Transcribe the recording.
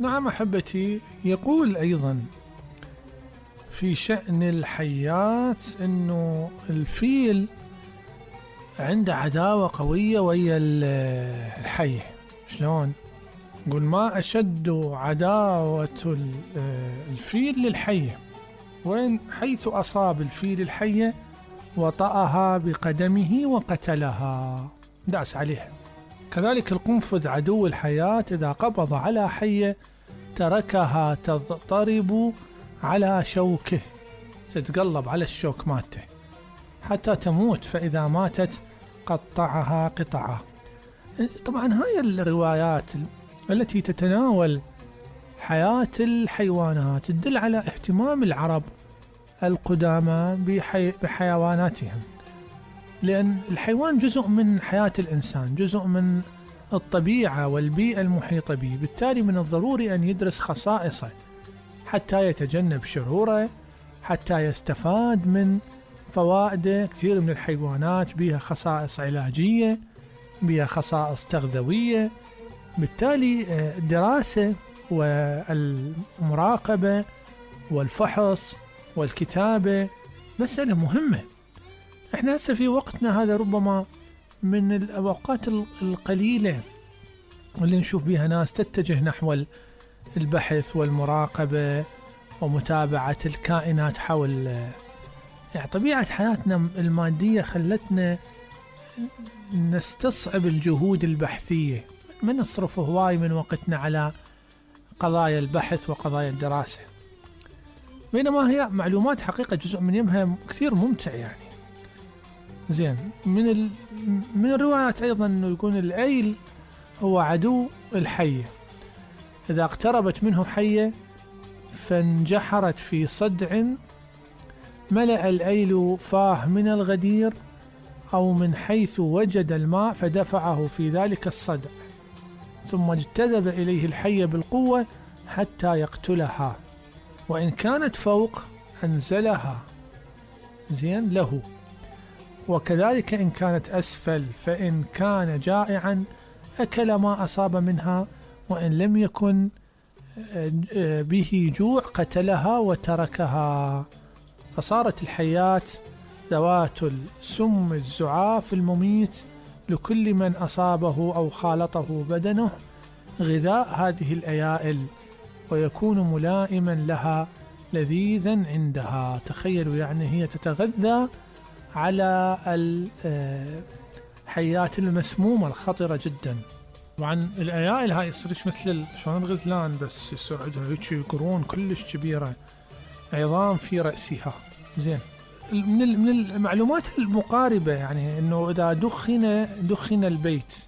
نعم أحبتي. يقول أيضا في شأن الحيات أنه الفيل عنده عداوة قوية ويا الحية. شلون؟ يقول ما أشد عداوة الفيل للحية، وين حيث أصاب الفيل الحية وطأها بقدمه وقتلها، داس عليها. كذلك القنفذ عدو الحياة إذا قبض على حية تركها تضطرب على شوكه، تتقلب على الشوك مالته حتى تموت، فإذا ماتت قطعها قطعة. طبعا هاي الروايات التي تتناول حياة الحيوانات تدل على اهتمام العرب القدامى بحيواناتهم، لأن الحيوان جزء من حياة الإنسان، جزء من الطبيعة والبيئة المحيطة به، بالتالي من الضروري أن يدرس خصائصه حتى يتجنب شروره، حتى يستفاد من فوائده. كثير من الحيوانات بها خصائص علاجية، بها خصائص تغذوية، بالتالي الدراسة والمراقبة والفحص والكتابة مسألة مهمة. احنا هسه في وقتنا هذا ربما من الأوقات القليلة اللي نشوف بها ناس تتجه نحو البحث والمراقبة ومتابعة الكائنات حول، يعني طبيعة حياتنا المادية خلتنا نستصعب الجهود البحثية، ما نصرف هواي من وقتنا على قضايا البحث وقضايا الدراسة، بينما هي معلومات حقيقة جزء منها كثير ممتع. يعني زين، من الروايات أيضا أنه يكون الأيل هو عدو الحية، إذا اقتربت منه حية فانجحرت في صدع ملأ الأيل فاه من الغدير أو من حيث وجد الماء فدفعه في ذلك الصدع، ثم اجتذب إليه الحية بالقوة حتى يقتلها، وإن كانت فوق أنزلها زين له، وكذلك إن كانت أسفل، فإن كان جائعا أكل ما أصاب منها، وإن لم يكن به جوع قتلها وتركها. فصارت الحيات ذوات السم الزعاف المميت لكل من أصابه أو خالطه بدنه غذاء هذه الأيائل، ويكون ملائما لها لذيذا عندها. تخيلوا، يعني هي تتغذى على الحيات المسمومة الخطرة جدا. طبعا الأيائل هاي يصيرش مثل شلون الغزلان، بس يصير عندها هيك قرون كلش كبيرة، عظام في رأسها. زين، من المعلومات المقاربة يعني انه اذا دخن البيت